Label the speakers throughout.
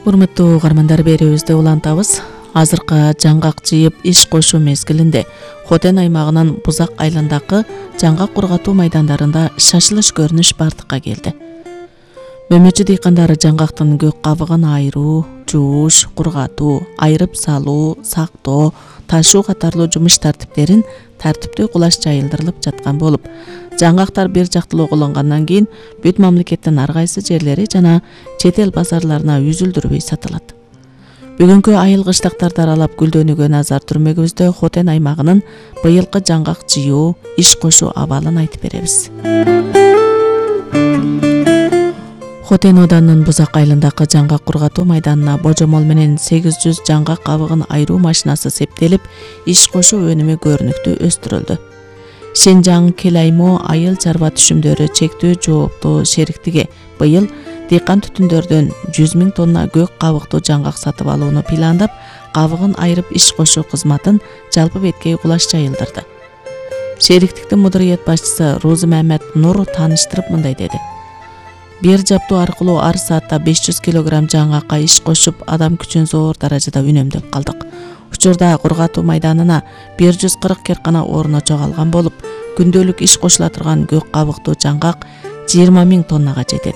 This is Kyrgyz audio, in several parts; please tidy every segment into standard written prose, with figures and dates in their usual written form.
Speaker 1: Урматтуу угармандар, берүүбүздү улантабыз. Азыркы жаңгак жыйып иш кошуу мезгилинде Хотен аймагынын Бузак айландагы жаңгак кургатуу майдандарында шашылыш көрүнүш бардыкка келди. Мөмөчү дыйкандар жаңгактын көк кабыгын айыруу, жууш, кургатуу, айырып салуу, сактоо, ташуу катарлуу жумуш тартиптерин тартиптүү кулаш жайылдырылып жаткан болуп, жаңгактар бир жактылуу колгонгандан кийин бүт мамлекеттин ар кайсы жерлери жана чет эл базарларына үзүлдүрбөй сатылат. Бүгүнкү айыл кыштактарды аралап гүлдөнүүгө назар түрмөгүбүздө Хотен аймагынын быйылкы жаңгак жыйуу, иш кошуу абалын айтып беребиз. Хотен оданынын Бузак айылындагы жаңгак кургатуу майданына божомол менен 800 жаңгак кабыгын айыруу машинасы септелип, иш кошуу өнүмү көрүнүктүү өстүрүлдү. Шенжаң Келаймо айыл чарба түшүмдөрү чектүү жооптуу шериктиги быйыл дыйкан түтүндөрдөн 100 000 тонна көк кабыктуу жаңгак сатып алууну пландап, кабыгын айырып иш кошуу кызматын жалпы беткей кулаш жайылдырды. Шериктиктин мудурият башчысы Розы Мамед Нур тааныштырып мындай деди: бир жаптуу аркылуу ар саатта 500 килограмм жаңгакка иш кошуп, адам күчүн зор даражада үнөмдөп калдык. Учурда кургатуу майданына 140 керкана орно чогалган болуп, күндөлүк иш кошула турган көк кабыктуу жаңгак 20 000 тоннага жетет.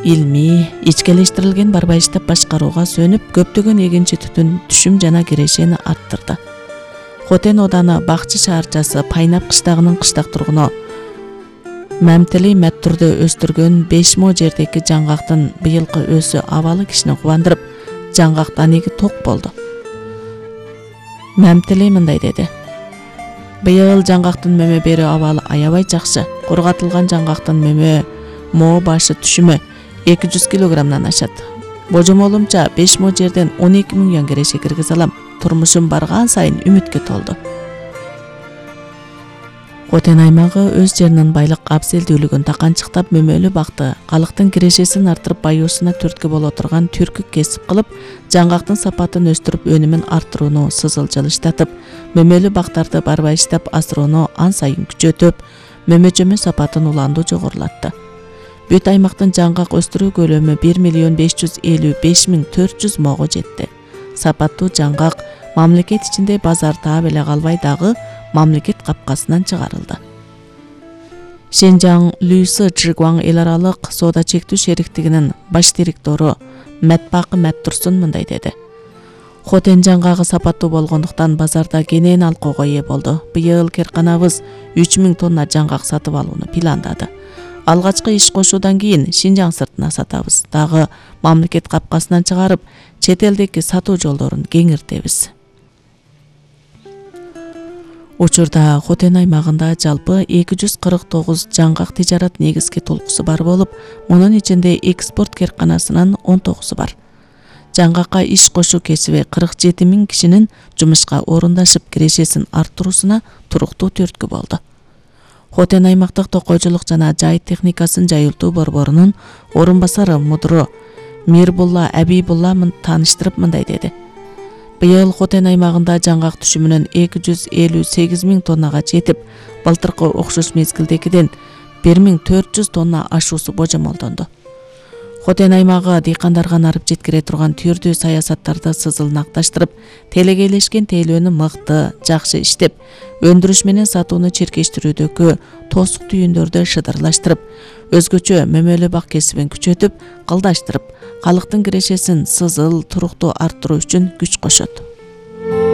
Speaker 1: Илмий, ичкелештирилген барбайыштап башкарууга сөнүп, көптөгөн эгинчи түтүн түшүм жана кирешени арттырды. Хотен оданы Бакчы шаарчасы Пайнап кыштагынын кыштак тургуну Мамтили Мәттүрдө өстүргөн 5 мо жердеги жаңгактын быйылкы өсү абалы кишини кубандырып, жаңгактан эги ток болду. Мамтили мындай деди: быйыл жаңгактын мөмө берүү абалы аябай жакшы. Кургатылган жаңгактын мөмө мо башы түшүмү 200 килограммдан ашат. Божомолумча 5 мо жерден 12 миллион кереши киргизе алам. Турмушум барган сайын үмүткө толду. Хотен аймагы өз жеринин байлык абзелдүүлүгүн таканчыктап мөмөлүү бакты, калктын кирешесин арттырып баюусуна түрткү боло турган түркүк кесип кылып, жаңгактын сапатын өстүрүп өнүмүн арттырууну сызыл жылыштатып, мөмөлүү бактарды барбайыштап асыроону ан сайын күчөтүп, мөмөчөмө сапатын уланду жогорулатты. Бүт аймактын жаңгак өстүрүү көлөмү 1 400 мого жетти. Сапаттуу жаңгак мамлекет ичинде базар таап эле калбай, дагы мамлекет капкасынан чыгарылды. Шенжаң Лүйсү Чжигуаң эл аралык соода чектүү шериктигинин баш директору Мәтбакы Мәттурсун мындай деди: Хотен жаңгагы сапаттуу болгондуктан базарда кенен алкоого ээ болду. Быйыл керканабыз 3000 тонна жаңгак сатып алууну пландады. Алгачкы иш кошуудан кийин Шинжаң сыртына сатабыз. Дагы мамлекет капкасынан чыгарып, чет элдеги сатуу жолдорун кеңиртебиз. Учурда Хотен аймагында жалпы 249 жаңгак тижарат негизги толкусу бар болуп, мунун ичинде экспорт керканасынын 19 бар. Жаңгакка иш кошуу кесиби 47 000 кишинин жумушка орундашып, кирешесин арттыруусуна туруктуу түрткү болду. Хотен аймактык токойчулук жана жайыт техникасын жайылтуу борборунун орун басары мудуру Мирбулла Абибулла тааныштырып мындай деди: быйыл Хотен аймагында жаңгак түшүмүнүн 258 000 тоннага жетип, былтыркы окшош мезгилдегиден 1400 тонна ашуусу божомолдонду. Хотен аймагы дыйкандарга нарып жеткире турган түрдүү саясаттарды сызылнакташтырып, телегейлешкен тейлөөнү мыкты, жакшы иштеп, өндүрүш менен сатууну чиркештирүүдөгү тосук түйүндөрдү шыдырлаштырып, өзгөчө мөмөлүү бак кесибин күчөтүп, кылдаштырып, калктын кирешесин сызыл, туруктуу арттыруу үчүн күч кошот.